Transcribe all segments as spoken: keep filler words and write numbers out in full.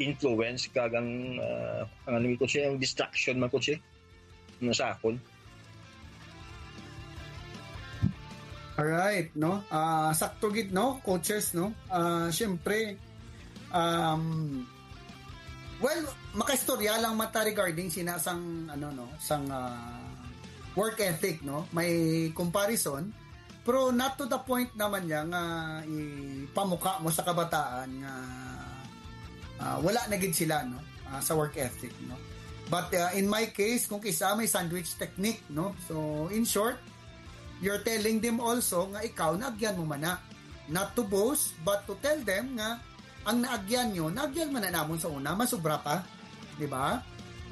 influence kag ang, ah, ang ano, coach, ang distraction man, coach, eh, no, sa akon. Alright, no? Ah, sakto gid, no, coaches, no? Ah, syempre, um, well, makaistorya lang man ta regarding sina sang, ano, no, sang, ah, work ethic, no? May comparison, pero not to the point naman niya nga ipamuka mo sa kabataan nga, ah, wala na gid sila, no? Ah, sa work ethic, no? But, ah, in my case, kung kisa may sandwich technique, no? So, in short, you're telling them also nga ikaw naagyan mo man na. Not to boast, but to tell them nga ang naagyan nyo, naagyan man na namon sa una, masubra pa. Di ba?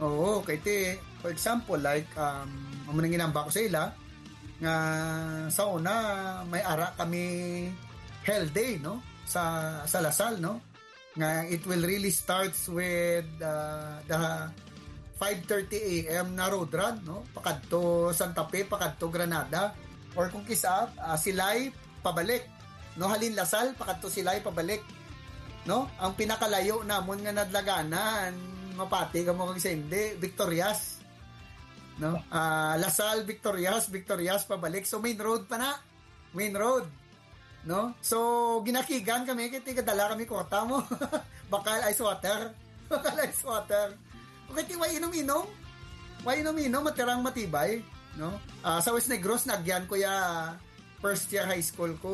Oo, kay ti, for example, like, um, amo nang ginamba ko sa ila, nga sa una, may ara kami health day, no? Sa, sa Lasal, no? Nga it will really starts with, uh, the five thirty a m na road run, no? Pakadto Santa Fe, pakadto Granada, or kung kisa, ah, Silay pabalik, no? Halin Lasal, pakadto Silay pabalik, no? Ang pinakalayo namon nga nadlaganan, mapati ka mo kag sa hindi, Victorias, no? Ah, Lasal, Victorias, Victorias pabalik. So, main road pa na. Main road. No? So, ginakigan kami, kay tigadala kami kwarta mo. Bakal ice water. Bakal ice water. Okay, ti, way inom-inom. Way inom-inom, matirang matibay. No? Ah, sa West Negros, nagyan ko ya first year high school ko,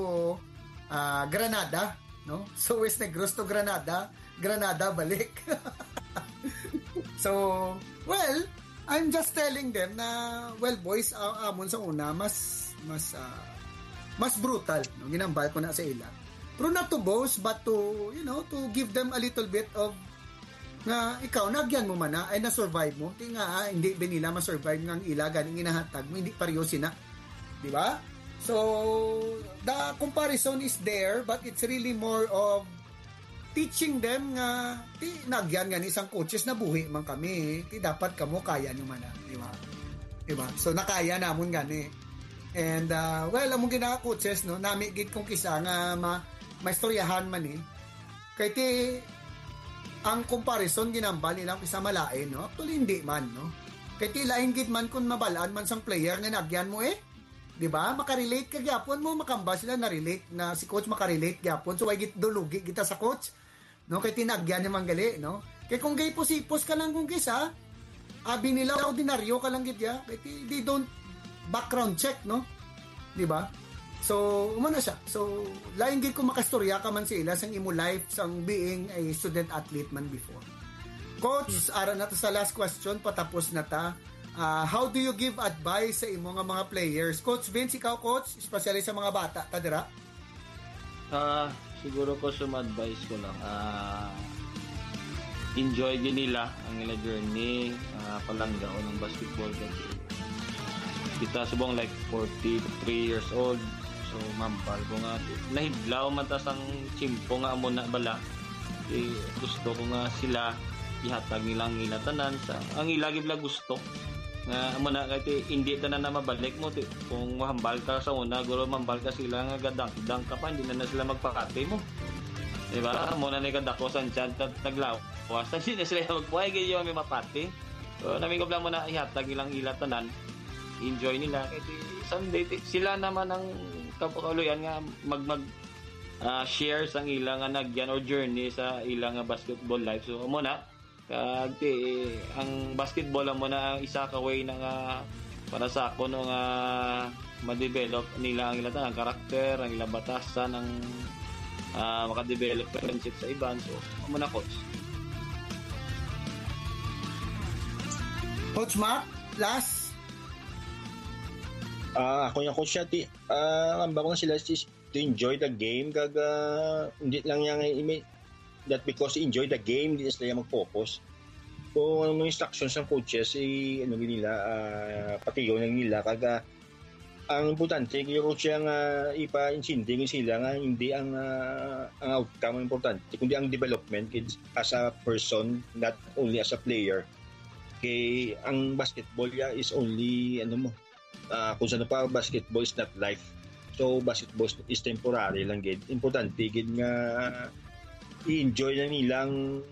ah, Granada. No? So, West Negros to Granada, Granada balik. So, well, I'm just telling them na, well, boys, a- amon sa una, mas, mas, ah, mas brutal, no? Ginambal ko na sa ila. Pero not to boast, but to, you know, to give them a little bit of, nga ikaw, nagyan mo man na, ay na-survive mo. Di nga, ah, hindi ba nila ma-survive nga ang ila ganing inahatag mo, hindi pareho sina. Di ba? So, the comparison is there, but it's really more of teaching them nga, ti, nagyan nga ni isang coaches, nabuhi man kami, ti, dapat kamo kaya nyo man na, di ba? Di ba? So, nakaya namon gani. And, uh, well, among gina-coaches, no, nami gid kung kisa nga ma maistoryahan man, eh. Kay ti, ang comparison ginambal nila kisa malain, no? Actually, hindi man, no? Kay ti, lain gid man kung mabalaan man sang player nga nagyan mo, eh. Di ba? Makarelate ka gyapon mo, makamba sila na-relate na si coach makarelate gyapon. So, why git dulugi kita sa coach? No, kay tinagyan ni manggali, no? Kay kung gay pusipos ka lang kung kisa, abi nila ordinaryo ka lang gid ya. Kay ti- they don't background check, no? Di ba? So, umano siya. So, lain gid kung makastorya ka man sa ila sang imo life sang being a student athlete man before. Coach, ara na ta sa last question, patapos na ta. Ah, how do you give advice sa imo nga mga players? Coach Vince, ikaw, coach, especially sa mga bata ta dira? Ah, siguro ko, sum advice ko lang, ah, enjoy gid nila ang ila journey, ah, palanggaon ang basketball kasi kita subong, like, forty-three years old, so mambal ko nga nahidlaw man ta sang tiyempo nga amo na bala. Eh, gusto ko nga sila ihatag nila ang ila tanan sa ang ila gid bala gusto. Nga amo na kay ti, hindi tanan na mabalik mo ti, kung mahambal ka sa una, guro mambal ka sila nga gadangdang ka pa, hindi na, na sila magpakati mo. Di ba? Amo na ni kadako sa chan at naglawas na, hindi na sila magpuhay, gid yung may mapati. So, namingkop lang mo na ihatag nilang ila tanan. Enjoy nila. Kay ti, someday, ti, sila naman ang kapakaluyan nga mag, mag, ah, share sang ila nga nagyan or journey sa ila nga basketball life. So, amo na. Kag ti, ang basketball amo na ang isa ka way na nga para sa ako, no, nga ma-develop nila ang ila tanan, ang karakter, ang ila batasan, ang, ah, maka-develop friendship sa iban. So, amo na, coach. Coach Mac, last. Ah, ako yung coach siya, ti, ah, ang bako na sila is to enjoy the game, kag, ah, hindi lang yung, imi-, that because enjoy the game, hindi na sila mag-focus. Kung ang mga instructions ng coaches, i-, ano gid nila, ah, patiyon lang nila, kag, ah, ang importante, yung coach yung, ah, ipa-intindi gid sila nga hindi ang, ah, ang outcome ang importante, kundi ang development gid as a person, not only as a player. Kay ang basketball ya is only, ano mo, ah, kung saan pa, basketball is not life. So, basketball is temporary lang gid. Importante gid nga i-enjoy na nilang